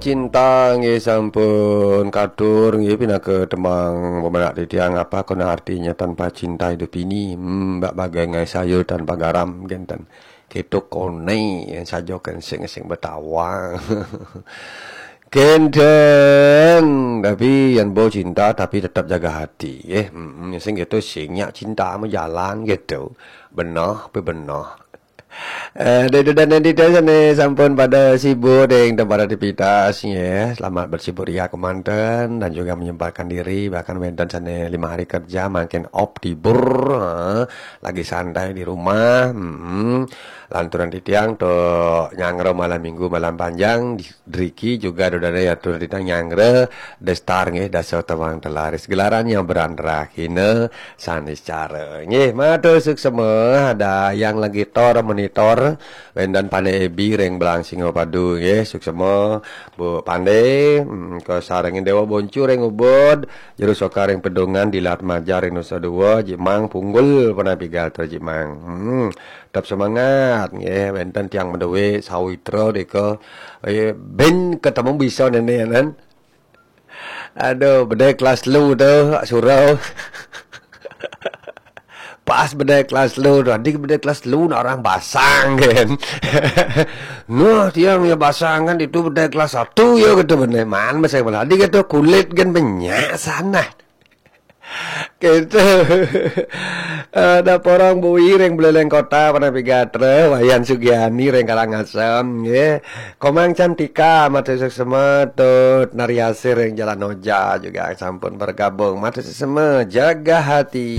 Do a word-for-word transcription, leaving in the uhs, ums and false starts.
Cinta nggih sampun katur nggih pinaka tembang pemerak titiang, apa kena artinya tanpa cinta hidup ini. Hmm, bak bagai ngai sayur tanpa garam genten. Keto kone sajo kensing-sing betawang. Genten, tapi yang bo cinta tapi tetap jaga hati nggih. Hmm, sing gitu sing nyak cinta mau jalan gitu. Benah, tapi benah. Eh, dek dan dek sane sampun pada sibuk dek tempat aktivitas ya. Selamat bersibuk ria kemanten dan juga menyempatkan diri, bahkan wenten sane lima hari kerja makin off libur, eh, lagi santai di rumah. Mm-mm. Lanturan titiang to nyangro malam minggu malam panjang di Driki juga dodane ya tuh titiang nyangro destar nggih dasa tawang telaris gelaran yang berandra kina sanis cara. Nggih, matur suksema ada yang lagi tor monitor wendan Pane Ebi ring Belang Singapadu nggih, suksema Bu Pande, mm, ke sarengin Dewa Boncu ring Ubud, Juru Soka ring Pedungan, Dilat Majar ring Nusa Dua, Jimang Punggul Penapi Gatra Jimang. Hmm, tetap semangat nggih, wenten tiang mendewe sawitra deka eh, ben ketemu bisa nene nan. Aduh, bedai kelas lu tu, surau. Pas bedai kelas lu tu, adik bedai kelas lu nak orang basang kan. Nuh, tiang ya basang kan itu bedai kelas satu ya gitu bedai man masa mana. Adik itu kulit kan banyak sana. Gitu. Ada porong bui ring Buleleng Kota Panapi Gatra, Wayan Sugiani ring Karangasem nggih. Komang Cantika, matur suksema, Tut Nariasih ring Jalan Oja juga sampun bergabung. Matur suksema, jaga hati.